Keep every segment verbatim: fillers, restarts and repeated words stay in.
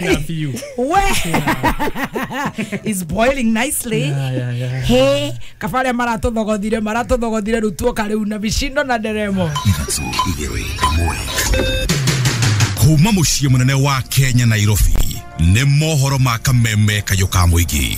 Biũ. We is boiling nicely. Yeah, yeah, yeah. He kaba arĩa maratũthogothire maratũthogothire rĩu tuoka rĩu na micindo na nderemo. Ithatũ igĩrĩ ĩmwe. Kuma mũciĩ mũnene wa Kenya, Nairobi, nĩ mohoro ma kameme kayũ ka mũingĩ.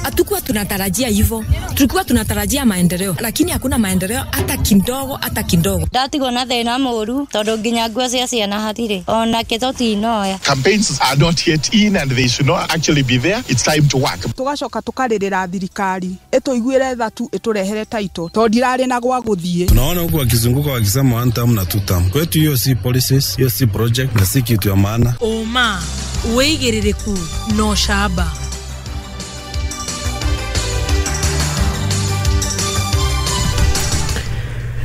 Hatukuwa tunatarajia hivyo, tulikuwa tunatarajia maendeleo, lakini hakuna maendeleo hata kidogo, hata kidogo. Ndatigwo na thĩna mũru tondũ nginya nguo cia ciana hatirĩ ona kĩ tũtinoya. Campaigns are not yet in and they should not actually be there. It's time to work. Tugacoka tukarĩrĩra thirikari ĩtũiguĩre tha tu, ĩtũrehere taito tondũ ndirarĩ na gwa gũthiĩ. Tunaona huku wakizunguka wakisema one term na two term. Kwetu hiyo si policies, hiyo si project na si kitu ya maana. Ũma, wĩigĩrĩrĩku na ũcamba.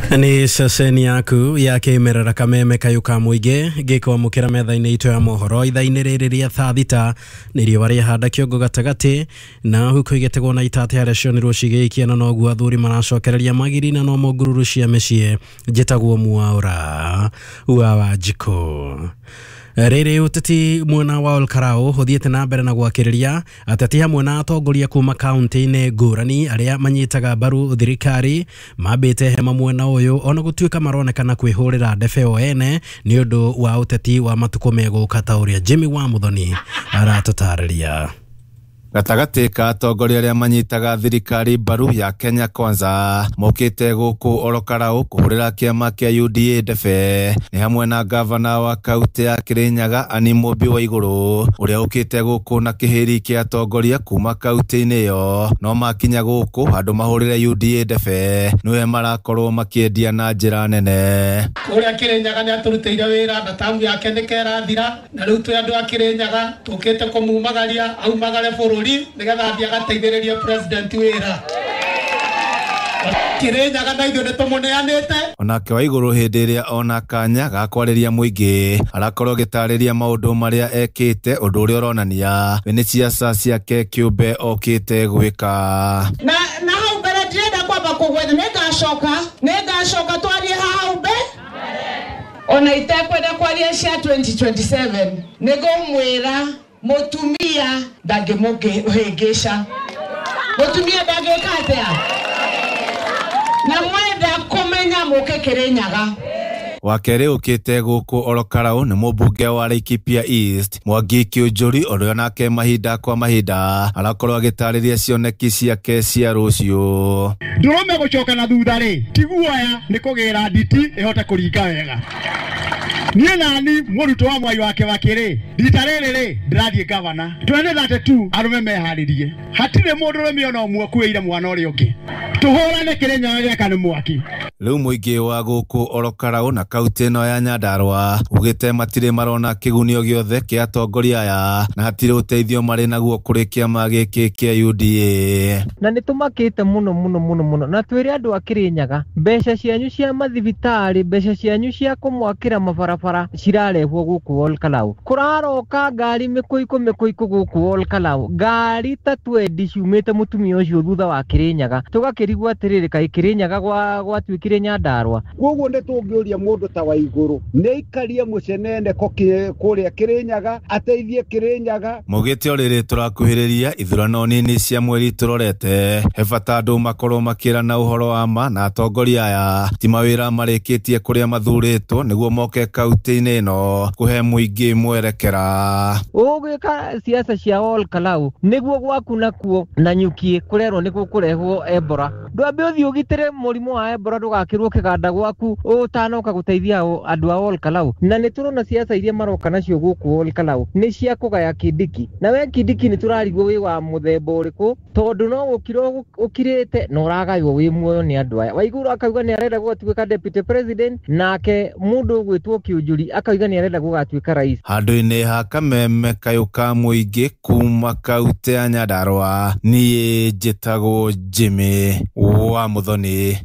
Nĩ ceceni yaku ya kĩmerera kameme kayũ ka mũingĩ gĩkwamũkĩra metha-inĩ itũ ya mohoro ithaa-inĩ rĩrĩ rĩa thaa thita. Nĩ riũa rĩahanda kĩongo gatagatĩ na huko igĩtegwo na itate harĩa cionirwo cigĩikia, na noguo athuri maracokereria magiri na nomo ngururu cia mĩciĩ. Njĩtagwo Mwaũra wa Wanjikũ. Rĩrĩ ũteti mwena wa Olkarau ũthiĩte na mbere na gwakĩrĩria ateti hamwe na atongoria kuma kaunti-inĩ ngũrani arĩa manyitaga mbaru thirikari mambĩte hema mwena ũyũ, ona gũtuĩka maronekana kwĩhũrĩra ndebe o ene nĩ ũndũ wa ũteti wa matukũ megũka, ta ũrĩa Jimmy wa Muthoni aratũtarĩria. Gatagatĩ ka atongoria arĩa manyitaga thirikari mbaru ya Kenya Kwanza mokĩte gũkũ Olokarau kũhũrĩra kĩama kĩa U D A ndebe nĩ hamwe na gavana wa kaunti ya Kirinyaga Anne Mũmbi wa Igũrũ, ũrĩa ũkĩte gũkũ na kĩhĩri kĩa atongoria kuma kaunti-inĩ ĩyo, no makinya gũkũ handũ mahũrĩre U D A ndebe nĩwe marakorwo makĩendia na njĩra nene. Kũrĩa Kirinyaga nĩ atũrutĩire wĩra na tamu yake nĩ kerathira, na rĩu twĩ andũ a Kirinyaga tũkĩte kũmumagaria aumagare bũrũri nĩgetha athiĩ agateithĩrĩrie president wĩra. Kirinyaga na ithuĩ nĩtũmũneanĩte. Onake wa Igũrũ hĩndĩ ĩrĩa ona kanya ga kwarĩria mũingĩ arakorwo agĩtarĩria maũndũ marĩa ekĩte, ũndũ ũrĩa ũronania we nĩ ciaca ciake kĩũmbe okĩte gwĩka. Na na hau mbere ndirenda kwamba kũgwetha, nĩngacoka nĩngacoka twarie hau mbere ona itekwenda kwaria cia twenty twenty-seven. Nĩngũmwĩra mũtumia ndangĩmũhĩngĩca, mũtumia ndangĩka atĩa, na mwenda kũmenya mũke Kĩrĩnyaga. Wa kerĩ ũkĩte gũkũ Olokarau nĩ mũmbunge wa Laikipia East Mwangi Kiunjuri, ũrĩa nake mahinda kwa mahinda arakorwo agĩtarĩria cioneki ciake cia rũciũ. Ndũrũme gũcoka na thutha rĩ ti guoya, nĩ kũgĩra nditi ĩhote kũringa wega. Niĩ nani mũrutwo wa Mwai wake wa kĩrĩ rita rĩrĩ rĩ ndĩrathiĩ gavana twenty thirty-two. Arũme meharĩrie, hatirĩ mũndũrũme ona ũmwe ũkuĩire mwana ũrĩa ũngĩ. Tũhũrane Kĩrĩnyaga gĩaka nĩ mwaki. Rĩu mũingĩ wa gũkũ Olokarau na kaunti ĩno ya Nyandarua ugĩte matirĩ marona kĩgunio gĩothe kĩa atongoria aya na hatirĩ ũteithio marĩ naguo kũrĩ kĩama gĩkĩ kĩa U D A. Na nĩ tũmakĩte mũno mũno mũno mũno, na twĩre andũ a Kĩrĩnyaga, mbeca cianyu cia mathibitarĩ, mbeca cianyu cia kũmwakĩra mabarabara cirarehwo gũkũ Olkalau. Kũraroka ngari mĩkũikũ mĩkũikũ gũkũ Olkalau, ngari ta twendi ciumĩte mũtumia ũcio thutha wa Kĩrĩnyaga. Tũgakĩrigwo atĩrĩrĩ, kaĩ Kĩrĩnyaga gwa gwatuĩkire Nyandarua? Koguo nĩ tũngĩũria mũndũ ta Waigũrũ nĩ aikarie mũceneneko kũrĩa Kĩrĩnyaga, ateithie Kĩrĩnyaga. Maugĩte o rĩrĩ tũrakuhĩrĩria ithurano nini cia mweri tũrorete, he bata andũ makorwo makĩrana ũhoro wa ma na atongoria aya ti mawĩra marĩkĩtie kũrĩa mathurĩtwo nĩguo moke kaunti-inĩ ĩno kũhe mũingĩ mwerekera. Ũgwĩka siasa cia Olkalau nĩguo gwaku nakuo na nyuki kũrerwo nĩ gũkũrehwo Ebola. Ndwambe ũthiĩ ũgitĩre mũrimũ wa Ebola ndũgakĩrwo kĩganda gwaku ũtanoka gũteithia andũ a Olkalau. Na nĩ tũrona siasa iria maroka nacio gũkũ Olkalau nĩ cia kũgaya Kindiki, na we Kindiki nĩ tũrarigwo wĩ wa mũthemba ũrĩkũ, tondũ no gũkira ũkirĩte na ũragaywo wĩ muoyo nĩ andũ aya. Waiguru akauga nĩ arenda gũgatuĩka deputy president, nake mũndũ ũgwĩtwo Kiunjuri akauga nĩ arenda gũgatuĩka rais. Handũ-inĩ ha kameme kayũ ka mũingĩ kuma kaunti ya Nyandarua, niĩ njĩtagwo Jimmy wa Muthoni.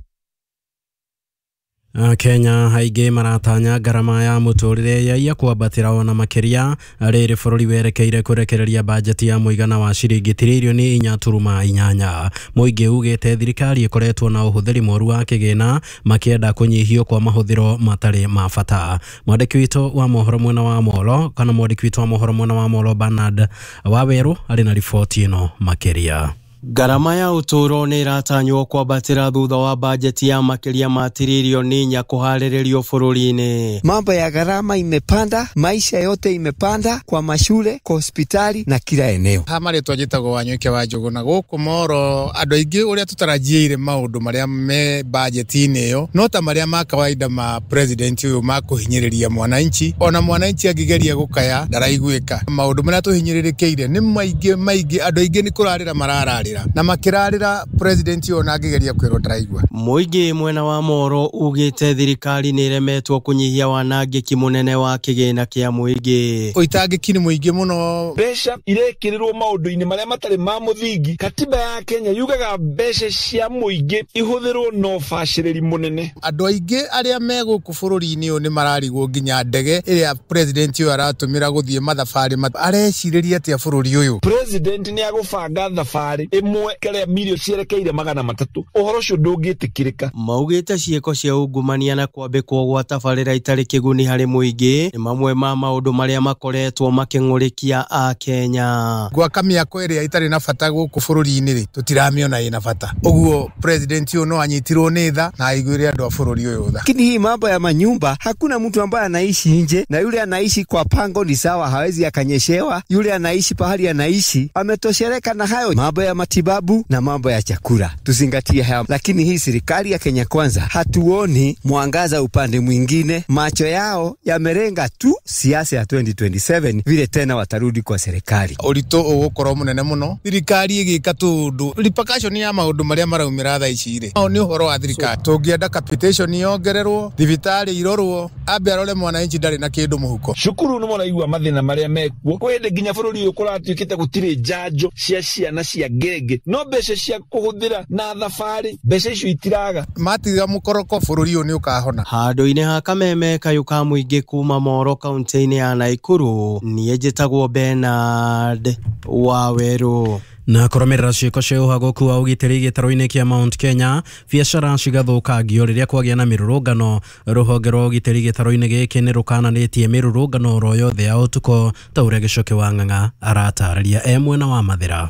Kenya aingĩ maratanya ngarama ya mũtũrĩre yaia kwambatĩra ona makĩria rĩrĩ bũrũri werekeire kũrekereria bajeti ya mũigana wa ciringi tiririoni inya turuma inyanya. Mũingĩ ugĩte thirikari ĩkoretwo na ũhũthĩri mũru wa kĩgĩna makĩenda kũnyihio kwa mahũthĩro matarĩ ma bata. Mwandĩki witũ wa mohoro mwena wa Molo kana mwandĩki witũ wa mohoro mwena wa Molo Bernard Waweru arĩ na riboti ĩno makĩria. Ngarama ya ũtũũro nĩ ĩratanywo kwambatĩra thutha wa bajeti ya makĩria ma tiririoni inya kũharĩrĩrio bũrũri-inĩ. Mambo ya gharama imepanda, maisha yote imepanda, kwa mashule, kwa hospitali na kila eneo. Ha marĩtwa njĩtagwo Wanyoike wa Njũgũ na gũkũ Moro andũ aingĩ ũrĩa tũtarajiĩire maũndũ marĩa me bajeti-inĩ ĩyo no ta marĩa ma kawaida ma president ũyũ ma kũhinyĩrĩria mwananchi, ona mwananchi angĩgeria gũkaya ndaraiguĩka. Maũndũ marĩa tũhinyĩrĩrĩkĩire nĩ maingĩ maingĩ, andũ aingĩ nĩ kũrarĩra marararĩra na makirarira president ona angigeria kwirwo ndaraigua. Mũingĩ mwena wa Moro ugĩte thirikari nĩ ĩremetwo kũnyihia wanangĩki mũnene wa kĩgĩna kĩa mũingĩ. Ũitangĩki nĩ mũingĩ mũno, mbeca irekĩrĩrwo maũndũ-inĩ marĩa matarĩ ma mũthingi. Katiba ya Kenya yugaga mbeca cia mũingĩ ihũthĩrwo na ũbacĩrĩri mũnene. Andũ aingĩ arĩa me gũkũ bũrũri-inĩ ũyũ nĩ mararigwo nginya ndege ĩrĩa president ũyũ aratũmĩra gũthiĩ mathabarĩ arecirĩria atĩa bũrũri ũyũ. President nĩ agũbanga thabarĩ ĩmwe kare milioni cierekeire magana matatu, ũhoro ũcio ndũngĩtĩkĩrĩka. Maugĩte ciĩko cia ungumania na kwambĩkwo gwa tabarĩra itarĩ kĩguni harĩ mũingĩ nĩ mamwe ma maũndũ marĩa makoretwo makĩng'ũrĩkia a Kenya. Gwaka mĩako ĩrĩa ĩtarĩ na bata gũkũ bũrũri-inĩ rĩ, tũtiramĩona ĩna bata. Ũguo president ũyũ no anyitirwo nĩ tha na aiguĩre andũ a bũrũri ũyũ tha. Lakini hii mambo ya manyumba, hakuna mtu ambaye anaishi nje, na yule anaishi kwa pango ni sawa, hawezi akanyeshewa. Yule anaishi pahali anaishi ametoshereka na hayo. Mambo ya matibabu na mambo ya chakula tuzingatie haya. Lakini hii serikali ya Kenya Kwanza hatuoni mwangaza upande mwingine, macho yao yamerenga tu siasa ya twenty twenty-seven vile tena watarudi kwa serikali. Ũritũ ũgũkorwo mũnene mũno thirikari ĩgĩka tũndũ repercussion ya maũndũ marĩa maraumĩra thaa ici rĩ, nĩ ũhoro wa thirikari. Tũngĩenda capitation yongererwo, thibitarĩ irorwo, ambe arore mwananchi ndarĩ na kĩndũ mũhuko. Cukuru nĩ mũraigua mathĩna marĩa mekuo kwĩ hĩndĩ nginya bũrũri ũyũ kũratuĩkĩte gũtirĩ njanjo cia ciana cia ngenge, no mbeca cia kũhũthĩra na thabarĩ mbeca icio itiraga. Matiga mũkoroko bũrũri ũyũ nĩ ũkahona. Handũ-inĩ ha kameme kayũ ka mũingĩ kuma Moro kaunti-inĩ ya Naikuru, niĩ njĩtagwo Bernard Waweru. Na kũrũmĩrĩra ciĩko cia ũhagũku wa ũgitĩri gĩtarũ-inĩ kĩa Mount Kenya, biacara cigathũkangio rĩrĩa kwagĩa na mĩrũrũngano. Rũhonge rwa ũgitĩri gĩtarũ-inĩ gĩkĩ nĩ rũkananĩtie mĩrũrũngano oro yothe ya ũtukũ ta ũrĩa Gĩcoke wa Ng'ang'a aratarĩria e mwena wa Mathĩra.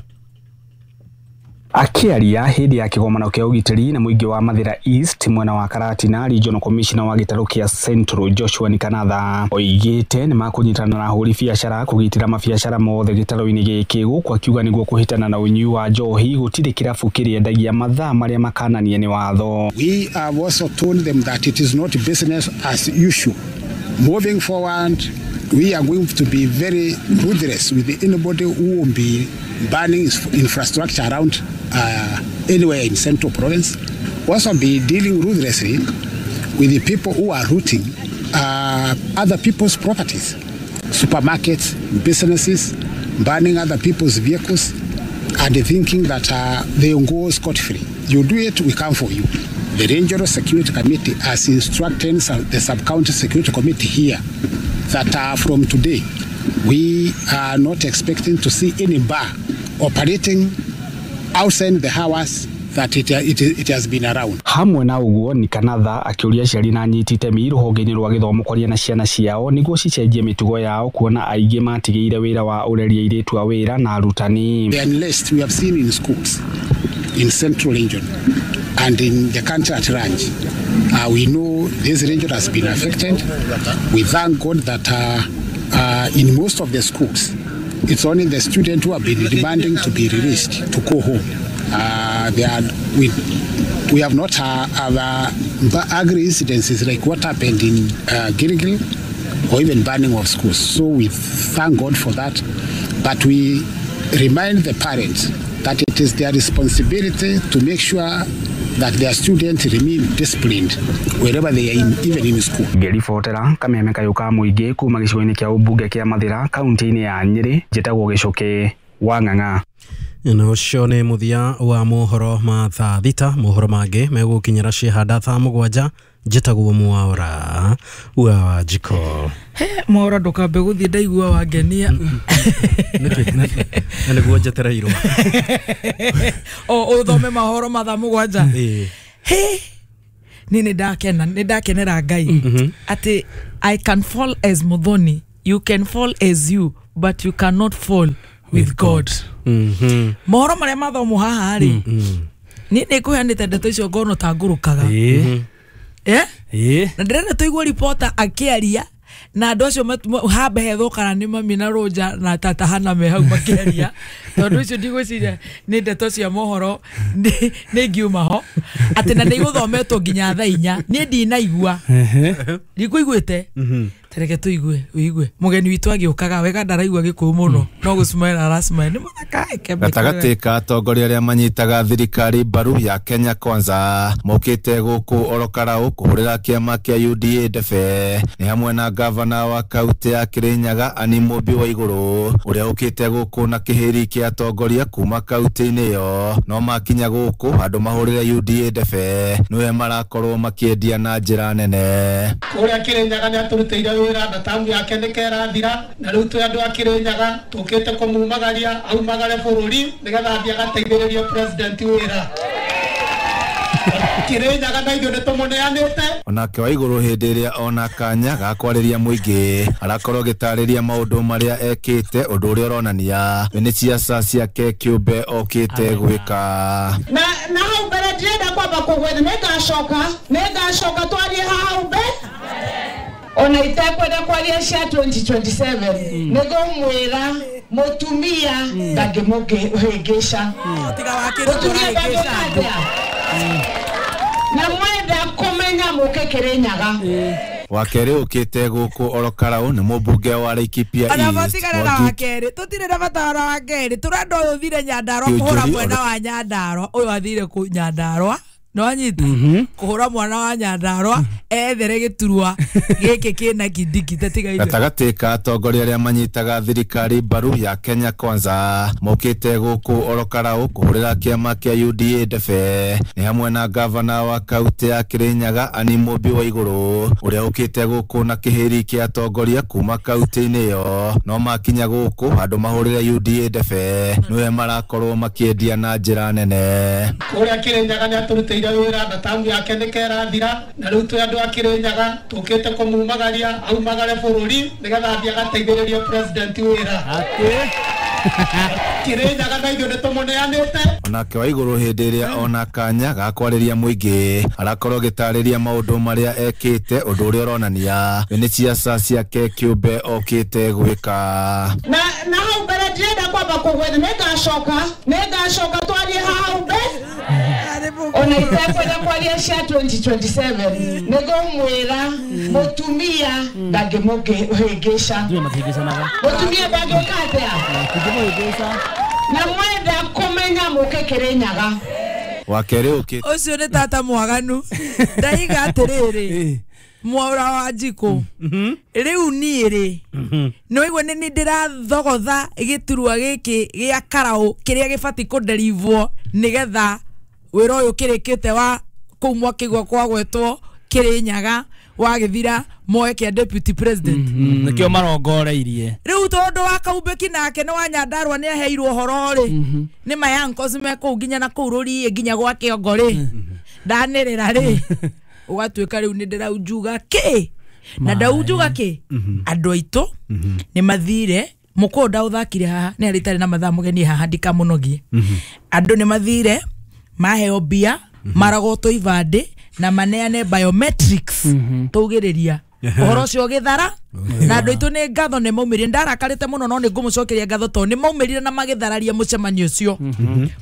Akiaria hĩndĩ ya kĩgomano kĩa ũgitĩri na mũingĩ wa Mathĩra East mwena wa Karatina, Regional Commissioner wa gĩtarũ kĩa Central Joshua Nikanatha oigĩte nĩ makũnyitana na ahũri biacara kũgitĩra mabiacara mothe gĩtarũ-inĩ gĩkĩ, gũkũ akiuga nĩguo kũhĩtana na ũnyui wa njohi gũtirĩ kĩrabu kĩrĩendagia mathaa marĩa makananie nĩ watho. We have also told them that it is not business as usual. Moving forward, we are going to be very ruthless with anybody who will be burning infrastructure around uh, anywhere in Central Province. Also be dealing ruthlessly with the people who are looting uh, other people's properties, supermarkets, businesses, burning other people's vehicles, and thinking that uh, they will go scot-free. You do it, we come for you. The Regional Security Committee has instructed the Sub-County Security Committee here that uh, from today, we are not expecting to see any bar operating outside the hours that it, it, it has been around. Hamwe na uguo Nikanatha akiuria aciari na anyiti itemi rũhonge-inĩ rwa gĩthomo kwaria na ciana ciao nĩguo cicenjie mĩtugo yao kuona aingĩ matigĩire wĩra wa ũreri airĩtu a wĩra na arutani. The unrest we have seen in schools in Central Region and in the country at large, uh, we know this region has been affected. We thank God that uh, uh, in most of the schools, it's only the students who have been demanding to be released to go home. Uh, they are, we, we have not uh, have, uh, angry incidences like what happened in uh, Gilgil or even burning of schools. So we thank God for that. But we remind the parents that it is their responsibility to make sure that their students remain disciplined wherever they are in, even in school. Ngĩribotera kameme kayũ ka mũingĩ kuma gĩcigo-inĩ kĩa ũmbunge kĩa Mathĩra kaunti-inĩ ya Nyĩrĩ, njĩtagwo Gĩcũkĩ wa Ng'ang'a. Na ũcio nĩ mũthia wa mohoro ma thaa thita. Mohoro mangĩ megũkinyĩra ciĩhanda thaa mũgwanja. Njĩtagwo Mwaura wa Wanjikũ. He Mwaura ndũkambe gũthiĩ ndaigua wangenia. Nĩkĩ? Na nĩguo njetereirwo. O ũthome mahoro mathaa mũgwanja. He ni nĩ ndakena, nĩ ndakenera Ngai atĩ I can fall as Muthoni, you can fall as you, but you cannot fall with God. Mhm. Mohoro marĩa mathomo haha rĩ, niĩ nĩ ngũheanĩte ndeto icio ngono ta ngũrũkaga. Eh? Na ndĩrenda tũigue reporter akĩaria na andũ acio hambe hethwo kana nĩ mami na Rũnja na tata Hana me hau makĩaria, tondũ icio ndigwĩciria nĩ ndeto cia mohoro nĩ ngiuma ho atĩ na nĩ igũthometwo nginya thaa inya. Niĩ ndinaigua, ndikũiguĩte. Tereke tũigue, ũigue mũgeni witũ agĩũkaga wega, ndaraigua gĩkũyũ mũno no gũcmail aracmail nĩ mũthaka. Gatagatĩ ka atongoria arĩa manyitaga thirikari mbaru ya Kenya Kwanza mokĩte gũkũ Orokarau kũhũrĩra kĩama kĩa U D A ndebe nĩ hamwe na gavana wa kaunti ya Kirinyaga Anne Mũmbi Waigũrũ ũrĩa ũkĩte gũkũ na kĩhĩri kĩa atongoria kuma kaunti-inĩ ĩyo. No makinya gũkũ andũ mahũrĩre U D A ndebe nĩwe marakorwo makĩendia na njĩra nene. Kũrĩa Kirinyaga nĩ atũrutĩire wĩra na tamu yake nĩ kerathira, na rĩu twĩ andũ a Kirinyaga tũkĩte kũmumagaria aumagare bũrũri nĩgetha athiĩ agateithĩrĩrie president wĩra. Kirinyaga na ithuĩ nĩ tũmũneanĩte. Onake Waigũrũ hĩndĩ ĩrĩa ona kanya ga kwarĩria mũingĩ arakorwo agĩtarĩria maũndũ marĩa ekĩte, ũndũ ũrĩa ũronania nĩ ciaca ciake kĩũmbe okĩte gwĩka. Na na hau mbere ndĩrenda kwamba kũgwetha, nĩ ngacoka, nĩ ngacoka twarie hau mbere. Ona itekwenda kwaria cia twenty twenty-seven nĩ ngũmwĩra mũtumia ndangĩmũhĩngĩca. Mũtumia ndangĩka na mwenda kũmenya mũke Kirinyaga. Wa kerĩ ũkĩte gũkũ Orokarau nĩ mũmbunge wa Laikipia East. Ona matigana na wa kerĩ, tũtirĩ na bata wa wa kerĩ, tũrenda ũyũ ũthire Nyandarua kũhũra mwena wa Nyandarua, ũyũ athire kũ Nyandarua. No anyita kuhura mwana wa Nyandarua ethere giturwa giki kina kindiki tatiga ithe. Gatagatĩ ka atongoria arĩa manyitaga thirikari mbaru ya Kenya Kwanza mokĩte gũkũ Orokarau kũhũrĩra kĩama kĩa U D A ndebe nĩ hamwe na gavana wa kaunti ya Kirinyaga Anne Mũmbi Waigũrũ ũrĩa ũkĩte gũkũ na kĩhĩri kĩa atongoria kuma kaunti-inĩ ĩyo. No makinya gũkũ andũ mahũrĩre U D A ndebe nĩwe marakorwo makĩendia na njĩra nene. Kũrĩa Kirinyaga nĩ atũrutĩire wĩra na tamu yake nĩ kerathira, na rĩu twĩ andũ a Kirinyaga tũkĩte kũmumagaria aumagare bũrũri nĩgetha athiĩ agateithĩrĩrie president wĩra. Kirinyaga na ithuĩ nĩ tũmũneanĩte. Onake Waigũrũ hĩndĩ ĩrĩa ona kanya ga kwarĩria mũingĩ arakorwo agĩtarĩria maũndũ marĩa ekĩte, ũndũ ũrĩa ũronania nĩ ciaca ciake kĩũmbe okĩte gwĩka. Na na hau mbere ndĩrenda kwamba kũgwetha, nĩ ngacoka, nĩ ngacoka twarie hau mbere. Ona itekwenda kwaria cia twenty twenty-seven nĩ ngũmwĩra mũtumia ndangĩmũhĩngĩca. Mũtumia ndangĩka atĩa? Na mwenda kũmenya mũke Kirinyaga. Wa kerĩ ũkĩte ũcio nĩ tata mwaganu. Ndaiga atĩrĩrĩ Mwaura wa Wanjikũ, rĩu niĩ rĩ nĩ waigua nĩ niĩ ndĩrathogotha gĩturwa gĩkĩ gĩa Karau kĩrĩa gĩbatiĩ kũnderivwo nĩgetha wĩra ũyũ kĩrĩkĩte wa kũu mwakĩgwa kwa gwetwo Kirinyaga wagĩthira moe kĩa deputy president. Nĩkĩo marongoreirie rĩu tondũ wa Kaumbĩki nake nĩ wa Nyandarua nĩ aheirwo ũhoro rĩ, nĩ mayankos me kũu nginya na kũu rũriĩ nginya gwa kĩongo rĩ, ndanĩrĩra rĩ ũgatuĩka rĩu nĩ ndĩraunjuga kĩ na ndaunjuga kĩ. Andũ aitũ nĩ mathire mũkũnda ũthakire haha nĩ arĩ itarĩ na mathaa mũgeni haha ndikamũnogie. Andũ nĩ mathire maheo mbia maragotwo ibandĩ na maneane biometrics tũugĩrĩria ũhoro ũcio ũgĩthara. Na andũ aitũ nĩ ngatho nĩ maumĩrire, ndarakarĩte mũno no nĩ ngũmũcokeria ngatho tondũ nĩ maumĩrire na magĩthararia mũcemanio ũcio.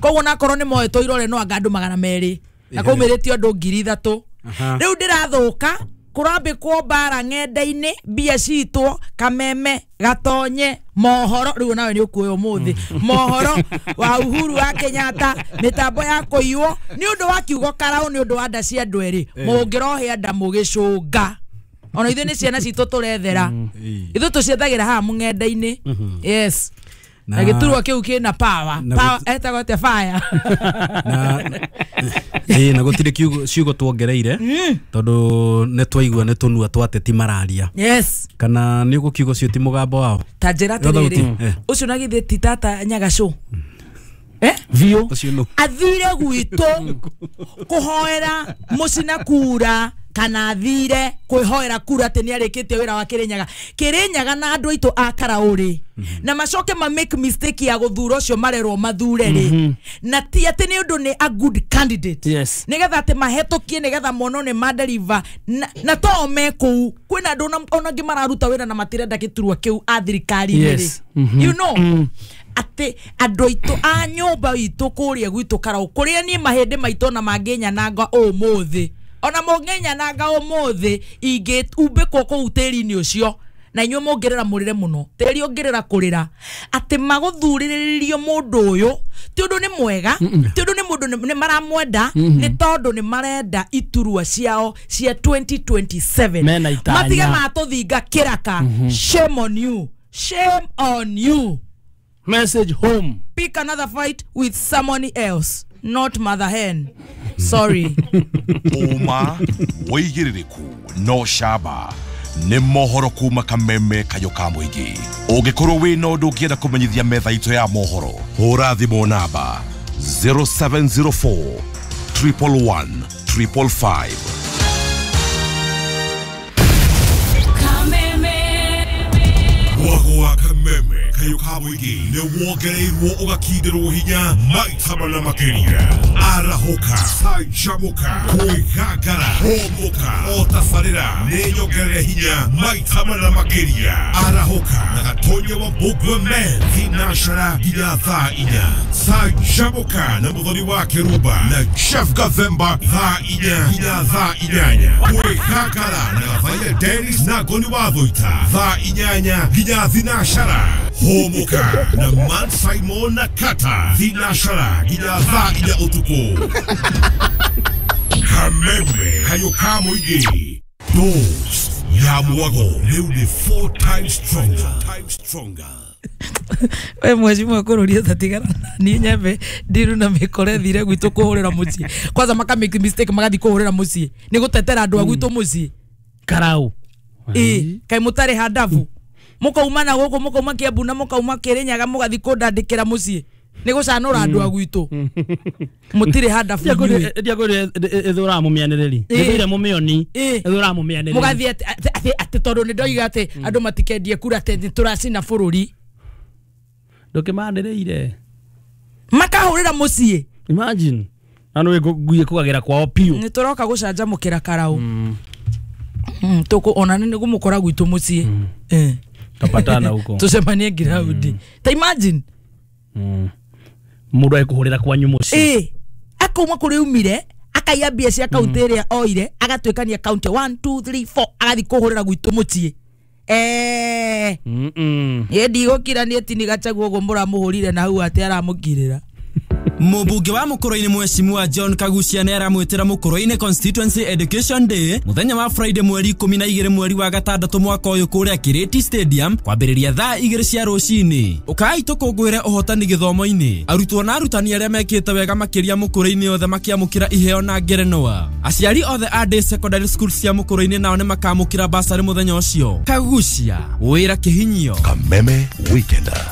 Koguo nakorwo nĩ moetwo irore no anga andũ magana merĩ na kwaumĩrĩtio andũ ngiri ithatũ. Rĩu ndĩrathũka kũrambĩkwo mbara ng'enda-inĩ, mbia citwo kameme gatonye mohoro rĩu nawe nĩ ũkuoya ũmũthĩ mohoro wa Uhuru wa Kenyatta mĩtambo ya kũiywo nĩ ũndũ wa kiugo Karau nĩ ũndũ wa nda cia andũ erĩ mũngĩrohĩa nda mũgĩcũnga. Ona ithuĩ nĩ ciana citũ tũrethera, ithuĩ tũciethagĩra haha mũng'enda-inĩ. Yes. Na gĩturwa kĩu kĩna power. Power etagwo atĩa fire. Na ĩĩ na gũtirĩ kiugo ciugo tuongereire tondũ nĩ twaigua nĩ tũnua twa ateti mararia. Yes. Kana nĩ ũgũkiuga ũcio ti mũgambo wao. Ta njĩra atĩrĩrĩ ũcio na githĩ ti tata Nyagacũ. Eh? Vio. Athire gwitũ kũhoera mũcina kura kana athire kwĩhoera kura atĩ nĩ arĩkĩtie wĩra wa Kĩrĩnyaga. Kĩrĩnyaga na andũ aitũ a Karaũrĩ na macoke ma make mistake ya gũthura ũcio marerwo mathure rĩ na ti atĩ nĩ ũndũ nĩ a good candidate. Yes. Nĩgetha atĩ mahetũkie nĩgetha monwo nĩ maderiva na, na to me kũu kwĩna andũ ona angĩ mararuta wĩra na matirenda gĩturwa kĩu a thirikari-inĩ rĩ. Yes. Mm -hmm. You know mm. Atĩ andũ aitũ a nyũmba itũ kũrĩa gwitũ Karaũ kũrĩa niĩ mahĩndĩ maitũ na mangĩnyananga ũmũthĩ ona mũngĩnyananga ũmũthĩ ingĩumbĩkwo kũu tĩri-inĩ ũcio na inyuĩ mũngĩrĩra mũrĩre mũno tĩri ũngĩrĩra kũrĩra atĩ magũthurĩrĩrio mũndũ ũyũ ti ũndũ nĩ mwega ti ũndũ nĩ mũndũ nĩ maramwenda nĩ tondũ nĩ marenda iturwa ciao cia twenty twenty-seven matige matũthinga kĩraka. Shame on you, shame on you. Message home. Pick another fight with someone else, not mother hen. Sorry. Uma wĩigĩrĩrĩku no camba nĩ mohoro kuma Kameme Kayũ ka Mũingĩ. Ũngĩkorwo wĩna ũndũ ũngĩenda kũmenyithia metha itũ ya mohoro, hũra thimũ namba zero seven zero four triple one triple five. Mwago wa Kameme Kayũ ka Mũingĩ nĩ wongereirwo ũgakindĩrwo hinya maita mana makĩria. Arahũka, canjamũka, kwĩgangara, hũmũka, o tabarĩra nĩ nyongerere hinya maita mana makĩria. Arahũka na Gatonya wa Mbũgua Men thinacara nginya thaa inya. Canjamũka na Mũthoni wa Kĩrumba na Chef Gathemba thaa inya nginya thaa inyanya. Kwĩgangara na Gathaia Dennis na Ngoni wa Thũita thaa inyanya nginya thinacara. Hũmũka na Man Simon na Kata thinacara nginya thaa inya ũtukũ. Kameme Kayũ ka Mũingĩ Dose ya mwago rĩu nĩ four times stronger. Stronger. We mheshimiwa kũrũria tatigana niĩ nyembe ndiru na mĩkore thire gwitũ kũhũrĩra mũciĩ kwanza maka make mistake magathi kũhũrĩra mũciĩ nĩ gũtetera andũ a gwitũ mũciĩ Karau. Ĩ kaĩ mũtarĩ handabu mukauma na gũkũ mukauma Kiambu na mukauma Kĩrĩnyaga mũgathi kũndandĩkĩra mũciĩ nĩ gũcanũra andũ a gwitũ mũtirĩ handabu inyuĩ. Ndiakwĩrire ĩthũraga mũmĩanĩrĩri ĩthũire mũmĩoni ĩthũraga mũmĩanĩrĩri mũgathiĩ atĩ atĩ tondũ nĩ ndoiga atĩ andũ matikendie kura atĩ nĩ tũracina bũrũri ndũkĩmanĩrĩire makahũrĩra mũciĩ. Imagine na nĩ ngui ĩkũgagĩra kwao piũ. Nĩ tũroka gũcanjamũkĩra Karaũ tũkũ ona nĩ gũmũkora gwitũ mũciĩ tapatana huko tucemanie ground. Ta imagine mundu ekuhurira kwanyu mucii eh akauma kuri umire akaiya mbia cia kaunti ĩrĩa oire agatuĩkania kaunti one two three four agathi kũhũrĩra gwitũ mũciĩ eh mm niĩ ndigũkira niĩ ti Gachagua ũguo mũramũhũrire na hau atĩ aramũkirĩra. Mũmbunge wa Mũkũrũ-inĩ Mheshimiwa John Kagucia nĩ aramwĩtĩra Mũkũrũ-inĩ Constituency Education Day mũthenya wa Friday mweri ikũmi na igĩrĩ mweri wa gatandatũ mwaka ũyũ kũrĩa Kirĩti Stadium kwambĩrĩria thaa igĩrĩ cia rũcinĩ. Ũkai tũkũngũĩre ũhotani gĩthomo-inĩ. Arutwo na arutani arĩa mekĩte wega makĩria Mũkũrũ-inĩ othe makĩamũkĩra iheo na ngerenwa. Aciari othe a day secondary school cia Mũkũrũ-inĩ nao nĩ makamũkĩra basarĩ mũthenya ũcio. Kagucia, wĩra kĩhinyio. Kameme Weekender.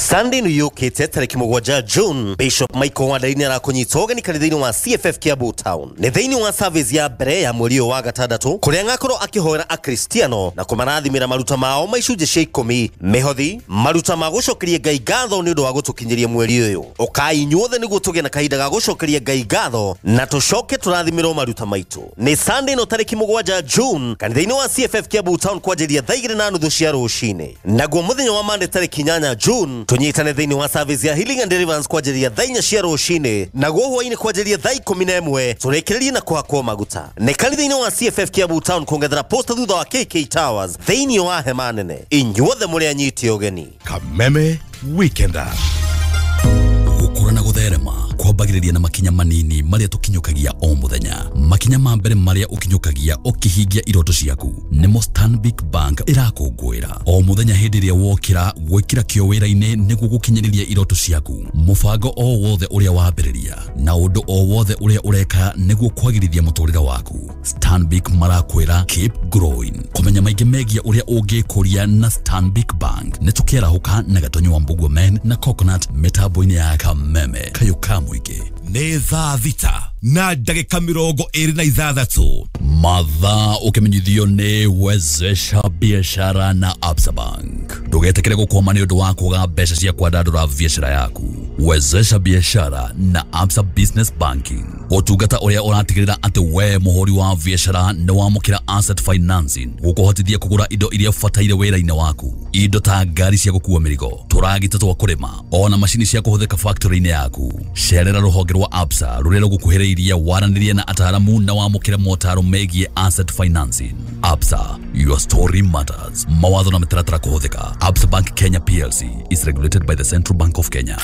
Sunday nĩ yũkĩte tarĩki mũgwanja June Bishop Michael Wandayi nĩ arakũnyita ũgeni kanitha-inĩ wa C F F Kiambu Town nĩ thĩinĩ wa service ya mbere ya mweri ũyũ wa gatandatũ kũrĩa ngakorwo akĩhoera akristiano na kũmarathimĩra maruta mao ma icunjĩ cia ikũmi mĩhothi maruta ma gũcokeria Ngai ngatho nĩ ũndũ wa gũtũkinyĩria mweri ũyũ. Ũkai inyuothe nĩguo tũgĩe na kahinda ga gũcokeria Ngai ngatho na tũcoke tũrathimĩrwo maruta maitũ. Nĩ Sunday no tarĩki mũgwanja June kanitha-inĩ wa C F F Kiambu Town kwanjĩrĩria thaa igĩrĩ na nuthu cia rũcinĩ. Naguo mũthenya wa Monday tarĩki inyanya June tunyitane thĩinĩ wa service ya Healing and Deliverance kwanjĩrĩria thaa inya cia rũcinĩ naguo hwainĩ kwanjĩrĩria thaa ikũmi na ĩmwe tũrĩkĩrĩrie na kũhakwo maguta. Nĩ kanitha-inĩ wa C F F Kiambu Town kuongerera posta thutha wa K K Towers thĩinĩ wa hema nene. Inyuothe mũrĩ anyiti ũgeni. Kameme Weekender. Gũkũra na gũtherema Kwambagĩrĩria na makinya manini marĩa tũkinyũkagia o mũthenya. Makinya ma mbere marĩa ũkinyũkagia ũkĩhingia iroto ciaku nĩmo Stanbic Bank ĩrakũngũĩra o mũthenya. Hĩndĩ ĩrĩa wokĩra gwĩkĩra kĩo wĩra-inĩ nĩguo gũkinyĩrĩria iroto ciaku, mũbango o wothe ũrĩa wambĩrĩria na ũndũ o wothe ũrĩa ũreka nĩguo kwagĩrithia mũtũrĩre waku, Stanbic marakwĩra keep growing. Kũmenya maingĩ megiĩ ũrĩa ũngĩkũria na Stanbic Bank nĩ tũkĩarahũka na Gatonyo wa Mbugua Men na Coconut mĩtambo-inĩ ya Kameme kayũ ka mũingĩ. Nĩ thaa thita na ndagĩka mĩrongo ĩrĩ na ithathatũ. Mathaa ũkĩmenyithio nĩ Wezesha Biashara na Absa Bank. Ndũgetĩkĩre gũkwama nĩ ũndũ wa kwaga mbeca cia kwandandũra biashara yaku. Wezesha Biashara na Absa Business Banking, ũtungata ũrĩa ũratigĩrĩra atĩ we mũhũri wa biashara nĩ wamũkĩra asset financing gũkũhotithia kũgũra indo iria ũbataire wĩra-inĩ waku, indo ta ngari cia gũkua mĩrigo, tũragita twa kũrĩma, ona macini cia kũhũthĩka factory-inĩ yaku. Cerera rũhonge rwa Absa rũrĩa rũgũkuhĩrĩirie, waranĩrie na ataaramu na wamũkĩre motaro megiĩ asset financing. Absa, your story matters. Mawatho na mĩtaratara kũhũthĩka. Absa Bank Kenya P L C is regulated by the Central Bank of Kenya.